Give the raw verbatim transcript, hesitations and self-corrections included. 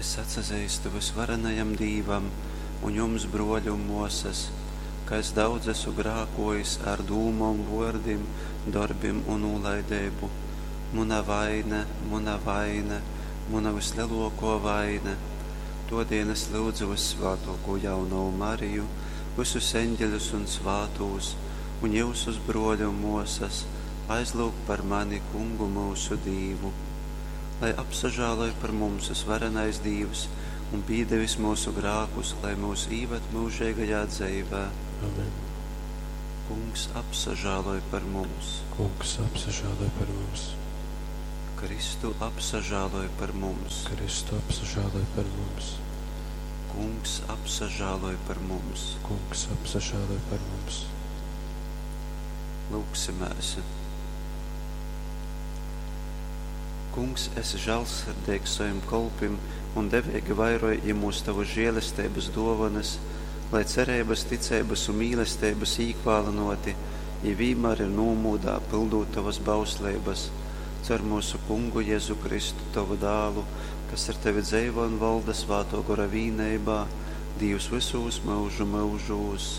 Es atsazeistu vysvarenajam Dīvam un jums, brōļi un mōsas, ka es daudz esu grākōjis ar dūmom, vōrdim, dorbim un nūlaideibu. Muna vaine, muna vaine, muna vyslelōkō vaine. Tōdēļ es lyudzu vyssvātōkū jaunovu Mariju, vysus eņģeļus un svātūs, un jyusus, brōļi un mōsas, aizlyugt par mani Kungu myusu Dīvu. Lai apsažāloj par mums vysvarenais Dīvs un pīdevis myusu grākus, lai myus īvad myužeigajā dzeivē. Amen. Kungs apsažāloj par mums. Kungs apsažāloj par mums. Kristu apsažāloj par mums. Kristu apsažāloj par mums. Kungs apsažāloj par mums. Kungs apsažāloj par mums. Lūgsimēs. Kungs, esi žālsirdīgs savim kolpim un deveigi vairoj jimūs tavas žēlestības dōvanas, lai cereibas, ticeibas un mīlesteibas īkvālynōti, jī vīnmār ir nūmūdā, pyldūt tovas bausleibas. Caur myusu Kungu Jezu Kristu, tovu dālu, kas ar tevi dzeivo un volda Svātō Gora vīneibā, Dīvs vysūs myužu myužūs.